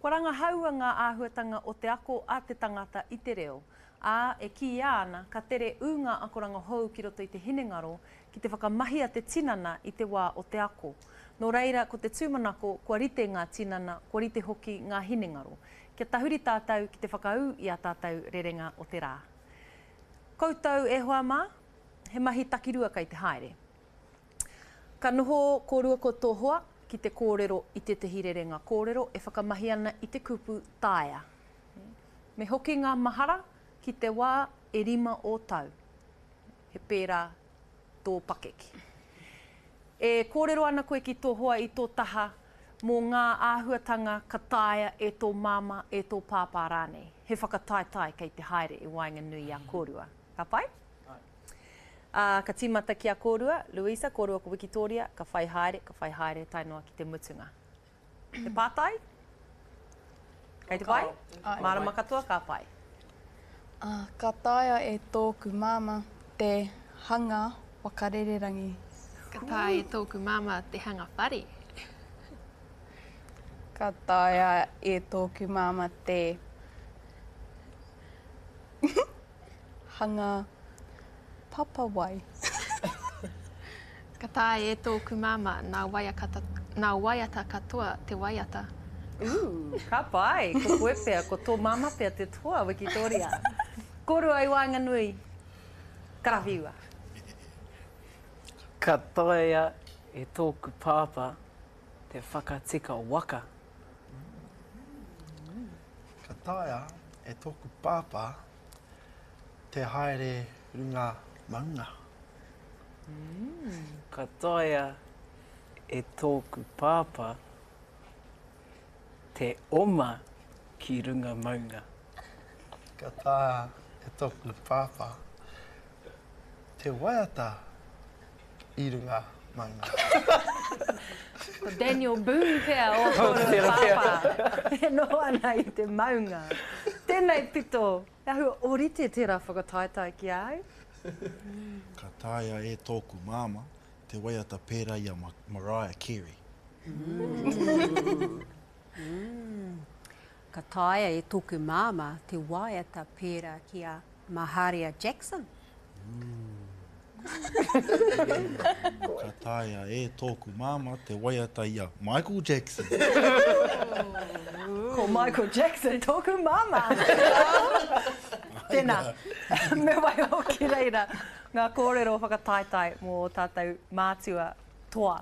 Kua rangahaua ngā āhuatanga o te ako a te tangata i te reo, ā, e kīia ana ka tere ū ngā akoranga hou ki roto i te hinengaro ki te whakamahia te tinana i te wā o te ako. Nō reira, ko te tūmanako kua rite ngā tinana, kua rite hoki ngā hinengaro. Kia tahuri tātou ki te whakaū i ā tātou rerenga o te rā. Koutou e hoa mā, he mahi takirua kei te haere. Ka noho kōrua ko tō hoa ki te kōrero i tētehi rerenga kōrero e whakamahi ana i te kupu taea. Me hoki ngā mahara ki te wā e rima ō tau. He pērā tō pakeke. E kōrero ana koe ki tō hoa i tō taha mō ngā āhuatanga ka taea e tō māmā, e tō pāpā rānei. He whakataetae kei te haere i waenganui i a kōrua. Ka pai? Ā, ka tīmata ki a kōrua, Louisa, kōrua ko Wikitōria, ka whai haere, ka whai haere tae noa ki te mutunga. He pātai? Kei te pai? Mārama katoa, ka pai. Ā, ka taea e tōku māmā te hanga waka rererangi. Ka taea e tōku māmā te hanga whare. Ka taea e tōku māmā te Hanga papa wai. Ka taea e tōku māmā nā nā waiata katoa te waiata. Ooh, ka pai! Ko koe pea, ko tō māmā pea te toa, Wikitoria. Kōrua i waenganui, karawhiua. Ka taea e tōku pāpā te whakatika waka. Ka taea e tōku pāpā te haere runga maunga. Ka taea e tōku pāpā te oma ki runga maunga. Ka taea e tōku pāpā te waiata i runga maunga. Ko Daniel Boone pea ō kōrua pāpā e noho ana i te maunga. Tēnei pito, he āhua ōrite tērā whakataetae ki a au. Ka taea e tōku māmā te waiata pērā i a Mariah Carey. Ka taea e tōku māmā te waiata pērā ki a Maharia Jackson. Ka taea e tōku māmā te waiata i a Michael Jackson. Ko Michael Jackson tōku māmā! Tēnā, me waiho ki reira ngā kōrero whakataetae mō ō tātou mātua toa.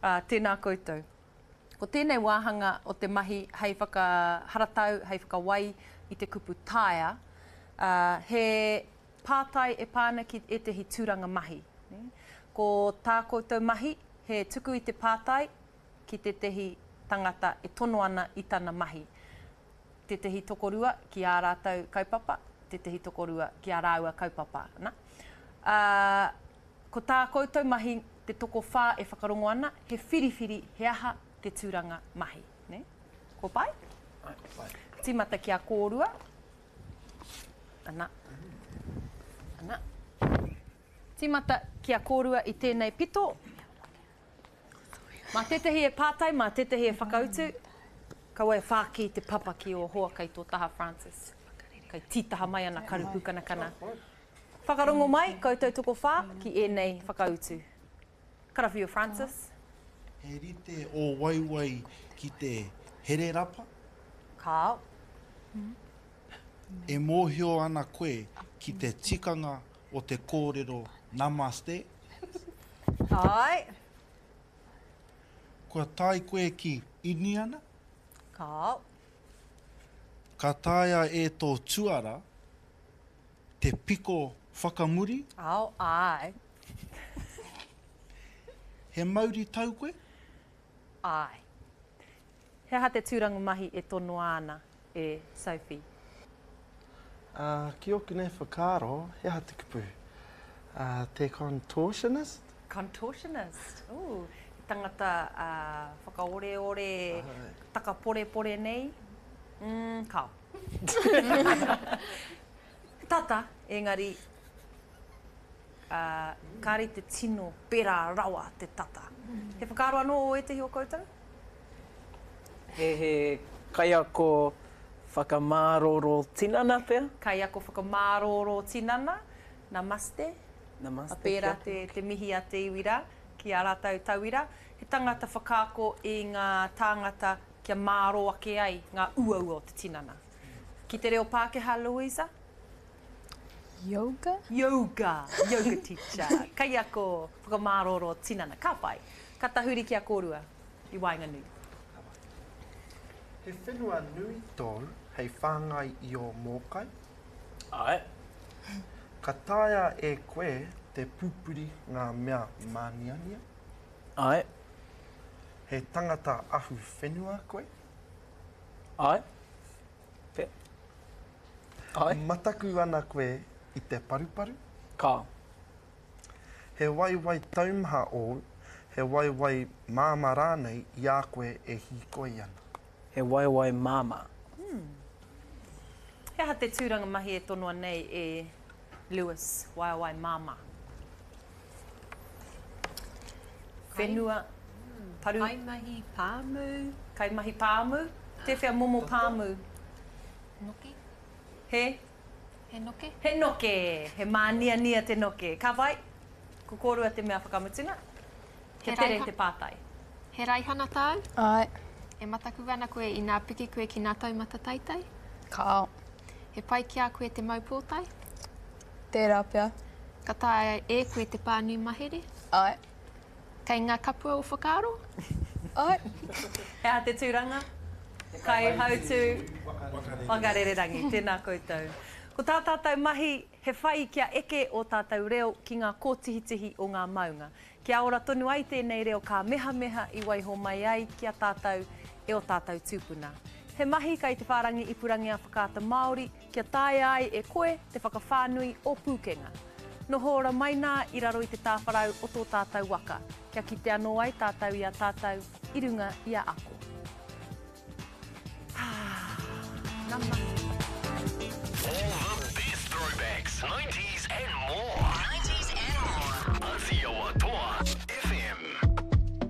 Tēnā koutou. Ko tēnei wāhanga o te mahi hei whakaharatau, hei whakawai i te kupu taea, ā, he pātai e pā ana ki ētehi tūranga mahi. Ko tā koutou mahi, he tuku i te pātai ki tētehi tangata e tono ana i tana mahi. Tētehi tokorua ki ā rātou kaupapa, tētehi tokorua ki ā rāua kaupapa. Na. Ā, Ko tā koutou mahi, te tokowhā e whakarongo ana, he whiriwhiri he aha te tūranga mahi. Nē? Kua pai? Pai. Tīmata ki a kōrua. Ana. Ana. Tīmata ki a kōrua i tēnei pito. Mā tētehi e pātai, mā tētehi e whakautu. Kaua e whāki te papa ki ō hoa kei tō taha, Francis. Kei tītaha mai ana karu pūkanakana. Whakarongo mai, koutou tokowhā, ki ēnei whakautu. Karawhiua Francis. He rite ō waewae ki te hererapa? Kāo. E mōhio ana koe ki te tikanga o te kōrero namaste? Āe. Kua tae koe ki Iniana? Kāo. Ka taea e tō tuara Te piko whakamuri? Ao, āe. He mauri tau koe? Āe. He aha te tūranga mahi e tonoa ana e Sophie? Ā, ki ōku nei whakaaro, he aha te kupu? Ā, te contortionist? Contortionist, ooh, he tangata whakaoreore, takaporepore nei? Mm, kāo. Tata, engari, ā, kāre i te tino pērā rawa te tata. He whakaaro anō ō ētehi o koutou? He, he. Kaiako whakamārōrō tinana pea? Kaiako whakamārōrō tinana, Namaste. Namaste. Pērā te, te mihi a te iwi rā ki ā rātou tauira. He tangata whakaako i ngā tāngata kia mārō ake ai ngā uaua o te tinana. Ki te reo Pākehā, Louisa? Yoga? Yoga, yoga teacher, kaiako whakamārōrō tinana. Ka pai. Ka tahuri ki a kōrua i waenganui. He whenua nui tōu hei whāngai i ō mōkai? Āe. Ka taea e koe te pupuri ngā mea māniania? Āe. He tangata ahu whenua koe? Āe. Pea. Āe. Mataku ana koe i te paruparu? Kāo. He waewae taumaha ōu, he waewae māmā rānei i a koe e hīkoi ana? He waewae māmā. He aha te tūranga mahi e tonoa nei e Lewis, waewae māmā? Whenua, paru. Kaimahi pāmu. Kaimahi pāmu? Tēwhea momo pāmu? Noke. He? He noke? He noke! He māniania te noke. Ka whai? Ko kōrua te mea whakamutunga? Kia tere te pātai. He raihana tāu? Āe. E mataku ana koe inā piki koe ki ngā taumata teitei? Kāo. He pai ki a koe te mau pōtae? Tērā pea. Ka taea e koe te pānui mahere? Āe. Kei ngā kapua o whakaaro? Āe. He aha te tūranga? Kaihautū Whakarererangi. Tēnā koutou. Ko tā tātou mahi, he whai kia eke ō tātou reo ki ngā kōtihitihi o ngā maunga. Kia ora tonu ai tēnei reo kāmehameha i waiho mai ai ki a tātou e ō tātou tūpuna. He mahi kai te whārangi ipurangi a Whakaata Māori kia taea ai e koe te whakawhānui ō pūkenga. Noho ora mai nā i raro i te tāwharau o tō tātou waka, kia kite anō ai tātou i a tātou i runga i a ako. Ā, nama.